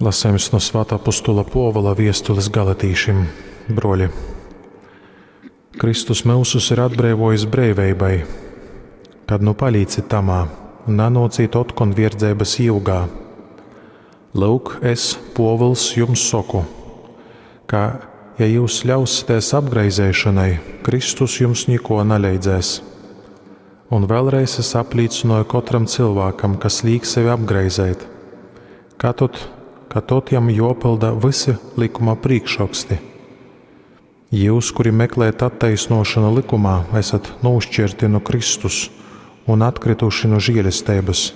Lasējums no Svātā Apostula Pōvula viestules galatīšim. Broļi, Kristus myusus ir atbreivojis breiveibai, kad nu palīcit tamā un nanōcīt otkon vierdzeibas jyugā. Lyuk, es, Pōvuls, jums soku, ka, ja jūs ļausitēs apgraizeišonai, Kristus jums niko naleidzēs. Un vēlreiz es aplīcynoju kotram cylvākam, kas līk sevi apgraizeit, ka tod, ka tod jam jōpylda vysi likuma prīkšroksti. Jūs, kuri meklējat attaisnošanu likumā, esat nūšķirti nu Kristus un atkrituši nu žēlesteibas.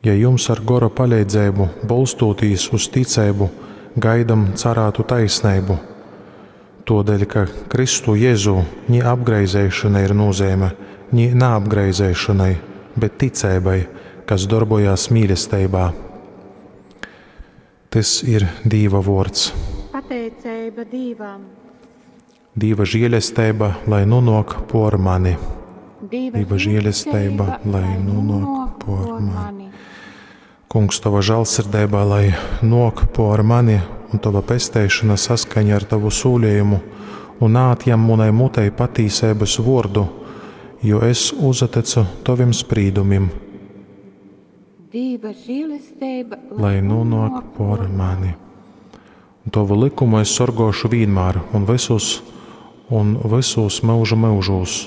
Ja jums ar gora paleidzeibu, bolstūtīs uz ticeibu, gaidam carātu taisneibu, todēļ, ka Kristu Jēzū ni apgraizeišana ir nozīme, ni naapgraizeišanai, bet ticeibai, kas darbojās mīlesteibā. Tys ir Dīva vōrds. Pateiceiba Dīvam. Dīva žēlesteiba, lai nonāk por mani. Dīva, Dīva žēlesteiba, lai nonāk por mani. Kungs, tava žālsirdeiba, lai nāk por mani, un tava pesteišana saskaņa ar tavu sūlījumu, un naatjam munai mutei patīseibas vōrdu, jo es uzatecu tovim sprīdumim, Dīva žēlesteiba, lai nonāk por mani. Un tovu likumu es sorgošu vienmēr un visus, un visos mūžu mūžos,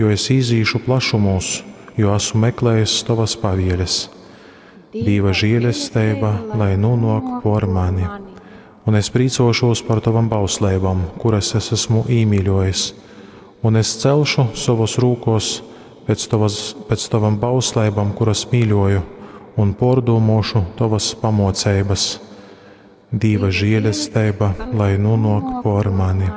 jo es izīšu plašumos, jo esmu meklējis tavas pavieles. Dīva žēlesteiba, lai nonāk por mani. Un es prīcošos par tavam bausleibam, kuras es esmu īmīļojis, un es celšu savos rūkos pēc, tavas, pēc tavam bausleibam, kuras mīļoju, un pordūmošu tavas pamoceibas. Dīva žēlesteiba, lai nonāk por mani.